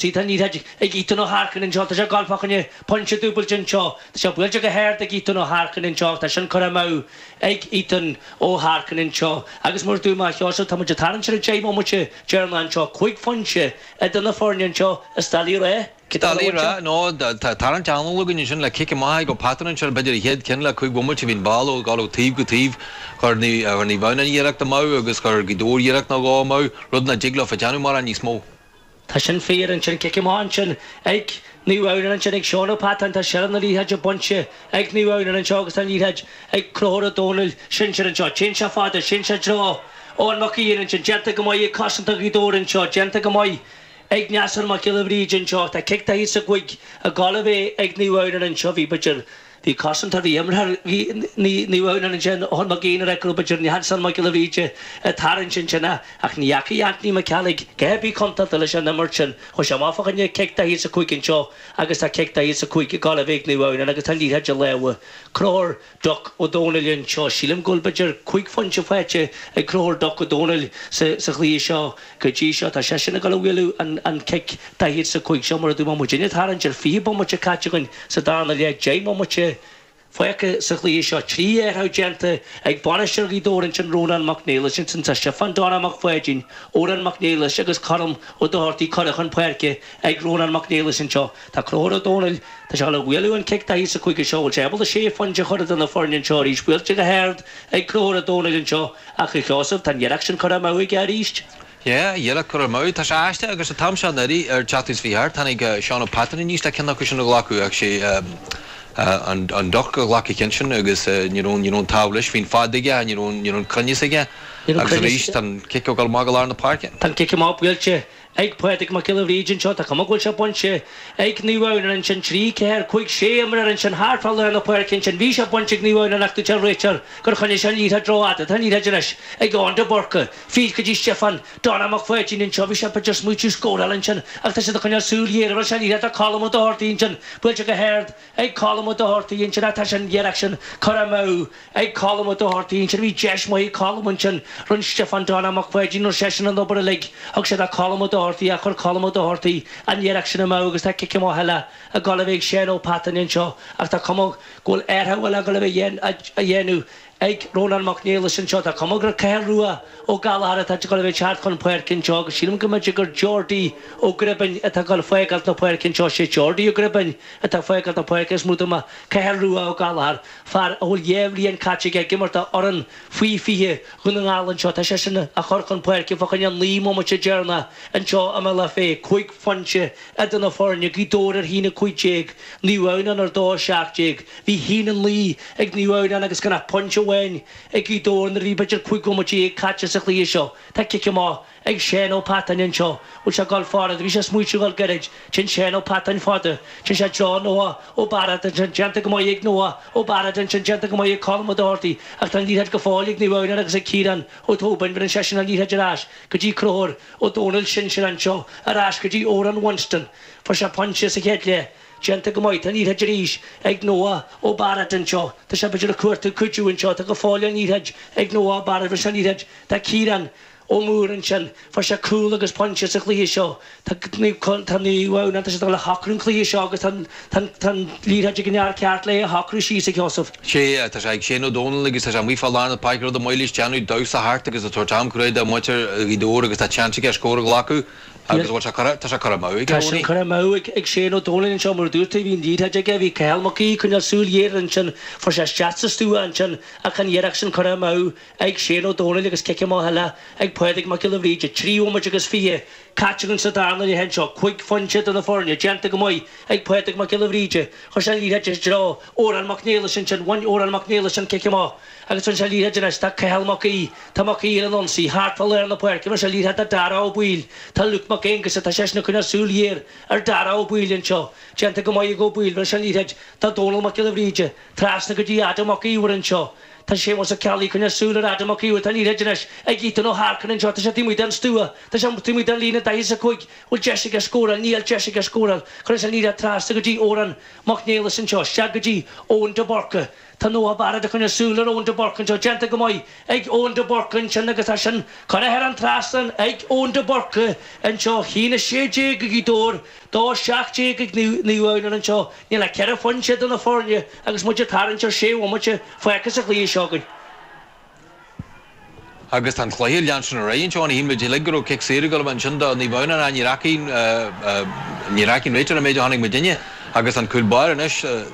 Tá an liathróid ag Ethan Ó hEarcáin anseo. Tá sé ag gabháil fá choinne pointe dúbailte anseo. Tá sé buailte go hard ag Ethan Ó hEarcáin anseo. Tá sin curtha amú ag Ethan Ó hEarcáin anseo. Agus mar a dúirt mé, a Sheosaimh, tá muid ag tarraingt ar an 10 mbomaite deireanach anseo. 5 phointe idir na foirne anseo i Stail Uí Ráth. Stail Uí Ráth, nó tá tarraingt an-mhór againn ansin le cic amach ag Ó Peatain anseo, b'fhéidir an chéad ceann le 5 bhomaite. Bhí an ball ag dul ó taobh go taobh. Chuir Naomh Adhamhnáin iarracht amú agus chuir Gaoth Dobhair iarracht nó dhó amú, rud nach dtig leo a dhéanamh mórán níos mó. Tá sin fíor ansin. Cic amach ansin ag Naomh Adhamhnáin ansin ag Seán Ó Peatáin. Tá seilbh na liathróide bainte ag Naomh Adhamhnáin anseo agus tá an liathróid ag Conchúr Ó Dónaill sinsir anseo. Téann sé fada, téann sé i dtreo Eoin Mac Aodha ansin. Déanta go maith ag cosantóir Ghaoth Dobhair anseo. Déanta go maith ag Neasán Mac Giolla Bhríde anseo. Tá cic daichead is a cúig ag gabháil a bheith ag Naomh Adhamhnáin anseo. Bhí b'fhéidir Bhí cosantóir, bhí imreoir Naomh Adhamhnáin ansin, Eoin Mac Aodha, ag rá b'fhéidir Neasán Mac Giolla Bhríde ag tarraingt ansin ach ní dheachaigh Anthony Mac Ceallaigh a dhath ar bith contúirteach leis an imirt sin. Chuaigh sé amach fá choinne cic daichead is a cúig anseo agus tá cic daichead is a cúig ag gabháil a bheith ag Naomh Adhamhnáin agus tá an liathróid i lámha Conchúr Duck Ó Dónaill anseo. Sílim go bhfuil b'fhéidir 5 phointe faighte ag Conchúr Duck Ó Dónaill sa chluiche seo go dtí seo. Tá seisean ag dul a bhualadh an cic daichead is a cúig seo mar a dúirt mé muidinne ag tarraingt ar 20 bomaite caite againn sa darna leath, 10 mbomaite fágtha sa chluiche seo. 3 athrú déanta ag bainisteoir Ghaoth Dobhair ansin Rónán Mac Niallais. Ansin tá Stiofán Donna Mac Pháidín, Odhrán Mac Niallais agus Colm Ó Dochartaigh curtha chun páirce ag Rónán Mac Niallais anseo. Tá Conchúr Ó Dónaill, tá sé ag dul a bhualadh an cic daichead is a cúig seo, bhfuil sé ábalta sé phointe a chur idir na foirne anseo arís. Buailte go hard ag Conchúr Ó Dónaill anseo ach a Sheosaimh, tá an iarracht sin curtha amú aige arís. Yeah, iarracht curtha amú. Tá sé aisteach agus an t-am seo anuraidh ar teacht is 28 tháinig Seán Ó Peatain aníos le ceann acu sin a ghlacadh ach sé an Duck a ghlac an ceann sin agus ní raibh ní raibh an t-ádh leis. Bhí an fad aige ach ní raibh ní raibh an cruinneas aige agus arís tá an cic ag dul amach go lár na páirce. Tá an cic amach buailte Ag Pádraig Mac Giolla Bhríde anseo, tá cuma go bhfuil sé bainte ag Naomh Adhamhnáin ansin, 3, 4, 5, 6 imreoir ansin thart fá lár na páirce ansin. Bhí sé bainte ag Naomh Adhamhnáin ach dúirt an réiteoir gur choinnigh sé an liathróid rófhada. Tá an liathróid anois ag Eoin de Búrca. Fríd go dtí Stiofán Donna Mac Pháidín anseo. Bhí sé b'fhéidir ag smaoitiú scóráil ansin ach tá siad ag coinneáil súil ghéar ar an liathróid. Tá Colm Ó Dochartaigh ansin buailte go hard ag Colm Ó Dochartaigh ansin ach tá sé an iarracht sin curtha amú ag Colm Ó Dochartaigh ansin. Bhí deis mhaith ag Colm ansin. Rinne Stiofán Donna Mac Pháidín, rinne seisean an obair uilig. Thug sé do Colm Ó Dochartaigh ach chuir Colm Ó Dochartaigh an iarracht sin amú agus tá cic amach eile ag dul a bheith ag Seán Ó Peatain anseo ach tá cuma go bhfuil athrú eile ag dul a bheith á dhéanamh ag Rónán Mac Niallais anseo. Tá cuma gur Cathal Rua Ó Gallchóir atá ag dul a bheith ag teacht chun páirce anseo agus sílim go mb'fhéidir gur Geordie Ó Gribín atá ag dul fágáilt na páirce anseo. Sé Geordie Ó Gribín atá ag fágáilt na páirce is mó dá Cathal Rua Ó Gallchóir, fear a bhfuil dhá bhliain caite aige ag imirt do fhoireann faoi 20 Dhún na nGall anseo. Tá seisean á chur chun páirce fá choinne an 9 mbomaite deireanach anseo i mBealach Féich. 5 phointe idir na foirne, Gaoth Dobhair ar 1-15, Naomh Adhamhnáin ar 2-17. Bhí 1-9 ag Naomh Adhamhnáin agus gan ach pointe amháin ag Gaoth Dobhair nuair a bhí b'fhéidir 15 bhomaite caite sa chluiche seo. Tá cic amach ag Seán Ó Peatáin anseo. Bhfuil sé ag dul fada? Bhí sé ag smaoitiú dhul gairid. Téann Seán Ó Peatáin fada. Téann sé i dtreo Noah Ó Bairéad ansin. Déanta go maith ag Noah Ó Bairéad ansin. Déanta go maith ag Colm Ó Dochartaigh. Ach tá an liathróid go fóill ag Naomh Adhamhnáin agus ag Ciarán Ó Tóibín. Bheireann seisean an liathróid ar ais go dtí Conchúr Ó Dónaill sinsir anseo. Ar ais go dtí Odhrán Winston. Fuair sé pointe sa chéad leath. Déanta go maith. Tá an liathróid arís ag Noah Ó Bairéad anseo. Tá sé b'fhéidir ag cuartú cuidiú anseo. Tá go fóill an liathróid ag Noah Ó Bairéad. Bheireann sé an liathróid do Ciarán Ó Mórdha ansin. Fuair sé cúl agus pointe sa chluiche seo. Tá Naomh Adhamhnáin, tá siad ag dul a shocrú an cluiche seo agus tá an liathróid ag an fhear ceart le é a shocrú síos, a Sheosaimh. Sea, tá sé ag Shane Ó Dónaill agus tá sé amuigh fá lár na páirce, rud ab áil leis déanamh, damhsa thart agus ag tabhairt am crua do mhuintir Ghaoth Dobhair agus tá seans aige scór a ghlacadh agus bhfuil sé curtha, tá sé curtha amú aige, Tá sin curtha amú ag Shane Ó Dónaill anseo, mar a dúirt tú, bhí an liathróid aige, bhí Cathal Mac Aoidh ag coinneáil súil ghéar air ansin, fuair sé isteach sa stua ansin ach an iarracht sin curtha amú ag Shane Ó Dónaill agus cic amach eile ag Pádraig Mac Giolla Bhríde. 3 bhomaite agus 20 caite againn sa darna leath anseo. 5 phointe do na foirne. Déanta go maith ag Pádraig Mac Giolla Bhríde. Chuir sé an liathróid i dtreo Odhrán Mac Niallais ansin. Bhain Odhrán Mac Niallais an cic amach agus bhain sé an liathróid anois. Tá Cathal Mac Aoidh. Tá Mac Aoidh ar an ionsaí thart fá lár na páirce. Bhain sé an liathróid do Dara Ó Baoill. Tá Luke Mac Aonghusa. Tá seisean ag coinneáil súil ghéar ar Dara Ó Baoill anseo. Déanta go maith ag Ó Baoill. Bhain sé an liathróid do Dónal Mac Giolla Bhríde. Trasna go dtí Adam Mac Íomhair anseo. Tá Séamus Ó Ceallaigh ag coinneáil súil ar Adam Mac Íomhair. Tá an liathróid anois ag Ethan Ó hEarcáin anseo. Tá sé taobh amuigh den stua. Tá sé taobh amuigh den líne 45. Bhfuil deis aige scóráil? Níl deis aige scóráil. Cuireann sé an liathróid trasna go dtí Odhrán Mac Niallais anseo. Isteach go dtí Eoin de Búrca. Tá Noah Barrett ag coinneáil súil ar Eoin de Burca anseo. Déanta go maith ag Eoin de Burca ansin agus tá sin curtha thar an trasnán ag Eoin de Burca anseo. 1-16 ag Gaoth Dobhair, 2-17 ag Naomh Adhamhnáin anseo. Níl ach ceithre phointe idir na foirne agus muid ag tarraingt ar sé bhomaite fágtha sa chluiche seo againn. Agus tá an cluiche ag leanstan ar aghaidh anseo. Shíl muid uilig go raibh cic saor ag dul a bheith ansin do Naomh Adhamhnáin ach ní fhaca, ní fhaca an réiteoir an méid a chonaic muidinne. Agus an cúl báire anois,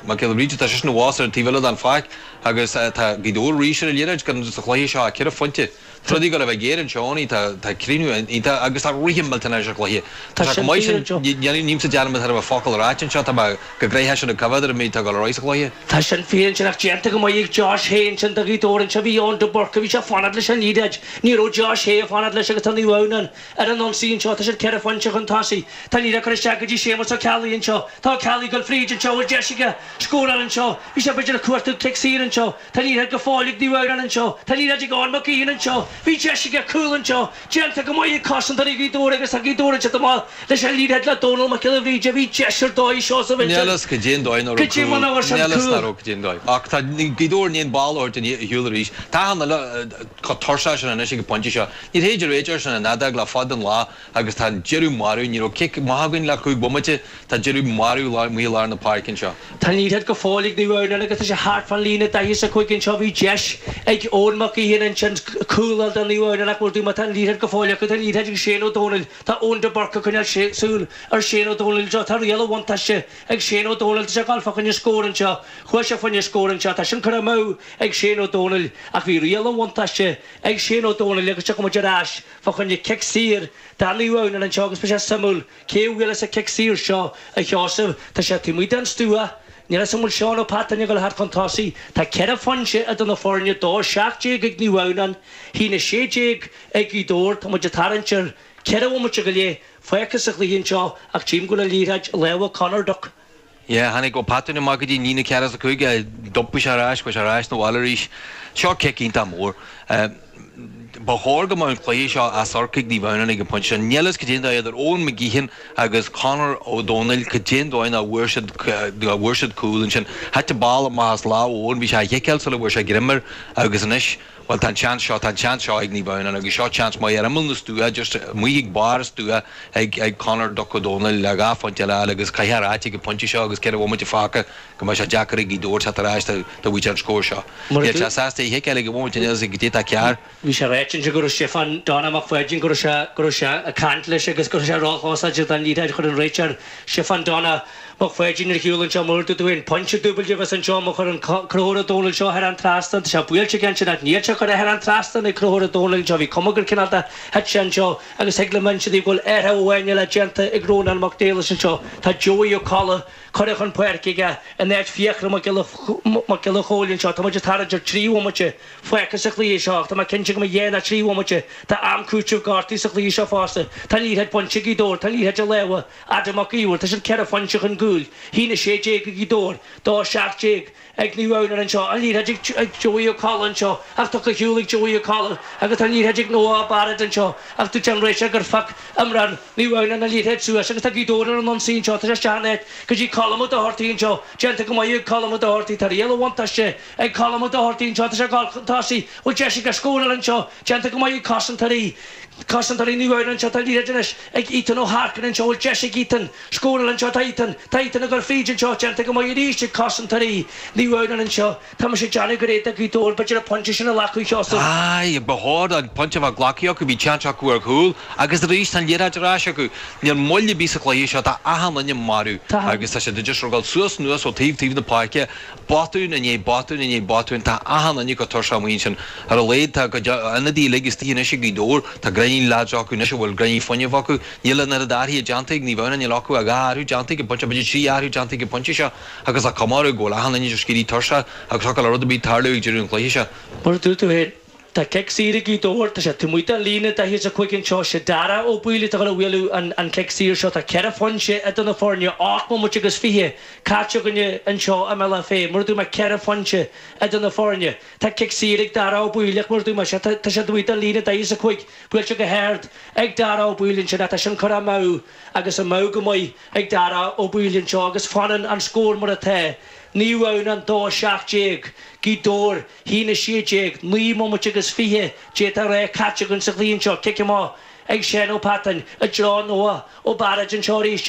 Mac Giolla Bhríde, tá seisean abhus ar an taobh eile den pháirc agus tá Gaoth Dobhair arís ar an liathróid gan sa chluiche seo ach ceithre phointe. Tá rudaí ag dul a bheith géar anseo, tá, tá críochnú iontach agus tá rithim millteanach ar an chluiche. Tá sé chomh maith sin, nílimse ag déanamh thairbhe focal a ráit anseo, tá mé go gnoitheach sin ag coimhéad ar an méid atá ag dul ar aghaidh sa chluiche. Tá sin fíor ansin ach déanta go maith ag Josh Hay ansin do Ghaoth Dobhair anseo. Bhí Eoin de Burca, bhí sé ag fanacht leis an liathróid. Ní raibh Josh Hay ag fanacht leis agus tá Naomh Adhamhnáin ar an ionsaí anseo. Tá siad ceithre phointe chun tosaigh. Tá an liathróid curtha isteach go dtí Séamus Ó Ceallaigh anseo. Tá Ó Ceallaigh ag dul fríd anseo. Bhfuil deis aige scóráil anseo? Bhí sé b'fhéidir ag cuartú cic saor anseo. Tá an liathróid go fóill ag Naomh Adhamhnáin anseo. Tá an liathróid ag Eoin Mac Gaoithin anseo. Bhí deis aige cúl anseo. Déanta go maith ag cosantóirí Ghaoth Dobhair agus tá Gaoth Dobhair anseo amach leis an liathróid le Dónal Mac Giolla Bhríde. Bhí deis ar dóigh Seosamh ansin. Níl fhios cad é an dóigh nach raibh cúl. Níl fhios nach raibh cad é an dóigh. Ach tá Gaoth Dobhair i ndiaidh an ball a thabhairt ar shiúl arís. Tá achan duine chomh tuirseach sin anois ag an bpointe seo. Ní féidir réiteoir sin an fheadóg le fad an lá agus tá an deireadh marbh. Ní raibh cic maith againn le chúig bhomaite. Tá deireadh marbh amuigh i lár na páirce anseo. Tá an liathróid go fóill ag Naomh Adhamhnáin agus tá sé thart fán líne 45 anseo. Bhí deis ag Eoin Mac Gaoithin ansin cúl a fháil do Naomh Adhamhnáin ach mar a dúirt mé tá an liathróid go fóill acu. Tá an liathróid ag Shane Ó Dónaill. Tá Eoin de Burca ag coinneáil súil ar Shane Ó Dónaill anseo. Tá riail an bhuntáiste ag Shane Ó Dónaill. Tá sé ag dul fá choinne scór anseo. Chuaigh sé fá choinne scór anseo. Tá sin curtha amú ag Shane Ó Dónaill ach bhí riail an bhuntáiste ag Shane Ó Dónaill agus tiocfaidh muid ar ais fá choinne cic saor do Naomh Adhamhnáin anseo agus beidh sé suimiúil Cé a bhuailfeas an cic saor seo, a Sheosaimh? Tá sé taobh amuigh den stua. Níl 'fhios a'm an bhfuil Seán Ó Peatáin ag dul thart chun tosaigh. Tá ceithre phointe idir na foirne, 2-17 ag Naomh Adhamhnáin, 1-16 ag Gaoth Dobhair. Tá muid ag tarraingt ar cheithre bhomaite go leith fágtha sa chluiche anseo ach tchím go bhfuil an liathróid i lámha Conor Duck. Yeah, tháinig Ó Peatáin amach go dtí an líne ceathracha is a cúig, d'iompaigh sé ar ais, chuaigh sé ar ais 'na bhaile arís. Seo cic iontach mór. Ba chóir go mbeadh an cluiche seo as amharc ag Naomh Adhamhnáin ag an bpointe seo. Níl fhios cad é an dóigh idir Eoin McGeehin agus Conor Ó Dónaill, cad é an dóigh nach bhfuair siad, nach bhfuair siad cúl ansin. Thit an ball amach as lámh Eoin, bhí sé á chiceáil sula bhfuair sé greim air agus anois, Bhuel, tá an seans seo, tá an seans seo ag Naomh Adhamhnáin agus seo seans maith ar imeall na stua, just amuigh ag barr an stua ag, ag Conor Duck Ó Dónaill le dhá phointe eile a fháil agus caithfidh a ráit ag an bpointe seo agus ceithre bhomaite fágtha go mbeidh sé deacair ag Gaoth Dobhair teacht ar ais de, de bhuaite an scór seo. Níl sé sásta é a chiceáil ag an bhomaite, níl a fhios cad é atá cearr. Bhí sé ráite ansin go raibh Stiofán Donagh Mac Pháidín, go raibh sé, go raibh sé ag caint leis agus go raibh sé róchósáilte don liathróid. Chuir an réiteoir Stiofán Donagh Mac Pháidín ar shiúl anseo mar a dúirt tú féin. Pointe dúbailte a bheas anseo má chuireann Conchúr Ó Dónaill seo thar an trasnán. Tá sé buailte aige ansin ach níl sé curtha thar an trasnán ag Conchúr Ó Dónaill anseo. Bhí cuma gur cineál de thit sé anseo agus thig liom inse daoibh go bhfuil athrú amháin eile déanta ag Rónán Mac Niallais anseo. Tá Joey Ó Colla curtha chun páirce aige in áit Fiachra Mac Giolla Chóill anseo. Tá muid ag tarraingt ar thrí bhomaite fágtha sa chluiche seo ach tá mé cinnte go mbeidh dhá nó trí bhomaite d'am cúitimh gortaithe sa chluiche seo fosta. Tá an liathróid bainte ag Gaoth Dobhair, tá an liathróid i lámha Adam Mac Íomhair. Tá siad ceithre phointe chun cúil, 1-16 ag Gaoth Dobhair, 2-17 ag Naomh Adhamhnáin anseo. An liathróid ag Joey Ó Colla anseo ach tugtha ar shiúl ag Joey Ó Colla agus tá an liathróid ag Noah Barrett anseo ach dúirt an réiteoir gur phioc imreoir Naomh Adhamhnáin an liathróid suas agus tá Gaoth Dobhair ar an ionsaí anseo. Tá sé isteach in áit go dtí Colm Ó Dochartaigh anseo. Déanta go maith ag Colm Ó Dochartaigh. Tá riail an bhuntáiste ag Colm Ó Dochartaigh anseo. Tá sé ag dul chun tosaigh. Bhfuil deis aige scóráil anseo? Déanta go maith ag cosantóirí. Cosantóirí Naomh Adhamhnáin anseo. Tá an liathróid anois ag Ethan Ó hEarcáin anseo. Bhfuil deis ag Ethan scóráil anseo? Tá Ethan. Tá Ethan ag dul fríd anseo. Déanta go maith arís ag cosantóirí Naomh Adhamhnáin anseo. Tá mise ag déanamh gur fhéadfadh Gaoth Dobhair b'fhéidir an pointe sin a ghlacadh, Sheosamh. Aye, ba chóir an pointe a bheith glactha acu, bhí seans acu ar chúl agus arís tá an liathróid ar ais acu. Níl moill ar bith sa chluiche seo, tá achan duine marbh agus tá siad just ag dul suas anuas ó taobh taobh na páirce, botún i ndiaidh botúin i ndiaidh botúin, tá achan duine chomh tuirseach amuigh ansin. Ar a laghad tá a gcuid ionadaithe uilig istigh anois ag Gaoth Dobhair, tá gráinnín leaids acu anois a bhfuil gráinnín fuinnimh acu. Níl an oiread athraithe déanta ag Naomh Adhamhnáin, níl acu ach dhá athrú déanta ag an bpointe, b'fhéidir trí athrú déanta ag an bpointe seo agus tá cuma orthu go bhfuil achan duine just ag éirí tuirseach agus thiocfadh le rud ar bith tarlú ag deireadh an chluiche seo. Mar a dúirt tú féin, Tá cic saor ag Gaoth Dobhair. Tá sé taobh amuigh den líne 45 anseo. Sé Dara Ó Baoill atá ag dul a bhualadh an cic saor seo. Tá ceithre phointe idir na foirne, 8 mbomaite agus 20 caite againne anseo i mBealach Féich. Mar a dúirt mé, ceithre phointe idir na foirne. Tá cic saor ag Dara Ó Baoill ach mar a dúirt mé, tá sé taobh amuigh den líne 45, buailte go hard ag Dara Ó Baoill ansin ach tá sin curtha amú agus amú go maith ag Dara Ó Baoill anseo agus fanann an scór mar atá. Naomh Adhamhnáin 2, 17, Gaoth Dobhair 1, 16, 9 mbomaite agus 20 d'fhéadfá a rá caite againn sa chluiche anseo. Cic amach ag Seán Ó Peatáin i dtreo Noah Ó Bairéad anseo arís.